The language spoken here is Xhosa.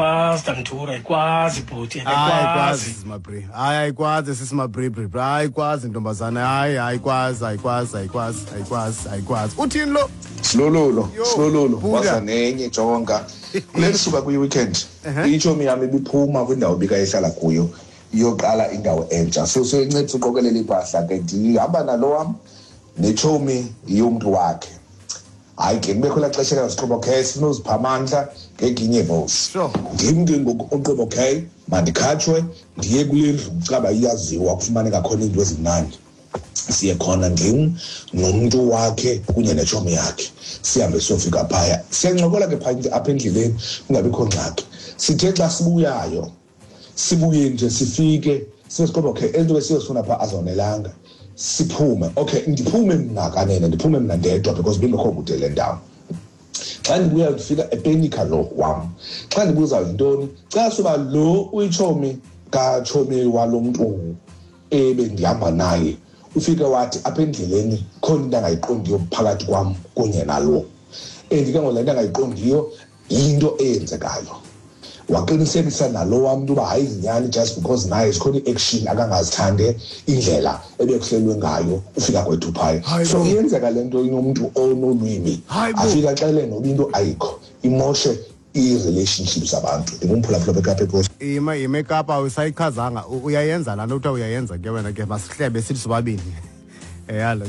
Ayikwazi, Tamthura, ayikwazi bhuti. Hayi, ayikwazi. Ayikwazi. Simabri, hayi, ayikwazi sisimabribri, hayi, ayikwazi ntombazana, hayi, ayikwazi, ayikwazi, ayikwazi, ayikwazi, ayikwazi. Uthini lo? Silululo. Yo, Silululo. Buddha. Waza nenye, jonga kule lisuka kwi-weekend, itshomi yam ibiphuma kwindawo ibikayihlala kuyo iyoqala indawo entsha, so soyincedisa uqokelela iimpahla ke. Ndihamba nalo wam netshomi yomntu wakhe. Hayi ke, kubekho elaa xesha kasiqoba, okay, sifuna uzipha amandla ngeginye vosi. Ndim ke ngoku uqoba, okay, mandikhatshwe ndiye kule ndlu kucaba iyaziwa, kufumaneka khona iinto ezimnandi. Siye khona, ndim nomntu wakhe kunye netshomi yakhe. Sihambe siyofika phaya, siyancokola ke phaya apha endleleni, kungabikho ngxaki. Sithe xa sibuyayo, sibuye nje sifike sibe siqoba, okay, ento besiyozifuna phaa azonelanga, siphume. Okay, ndiphume mna kanene, ndiphume mna ndedwa because bingekho kude le ndawo. Xa ndibuya ndifika epenika lo wam. Xa ndibuza yintoni, xa suba lo uyitshomi katshomi walo mntu ebendihamba naye, ufike wathi apha endleleni khona into angayiqondiyo phakathi kwam kunye nalo, and ke ngoku le nto angayiqondiyo yinto eyenzekayo. Waqinisekisa nalo wam mntu uba hayi, yinyani, just because naye zikhona ii-action akangazithande indlela ebekuhlelwe ngayo ufika kwethu phaya. Hayi So bo. iyenzeka le nto inomntu onolwimi, Hayi bo. afike axele noba into ayikho, imoshe ii-relationships zabantu. Ndingumphulaphula bekapa eKosi. Ima, ima eKapa, usayichazanga. Uyayenza laa nto kuthiwa uyayenza ke wena ke, masihlebe sithi sobabini. Yalo.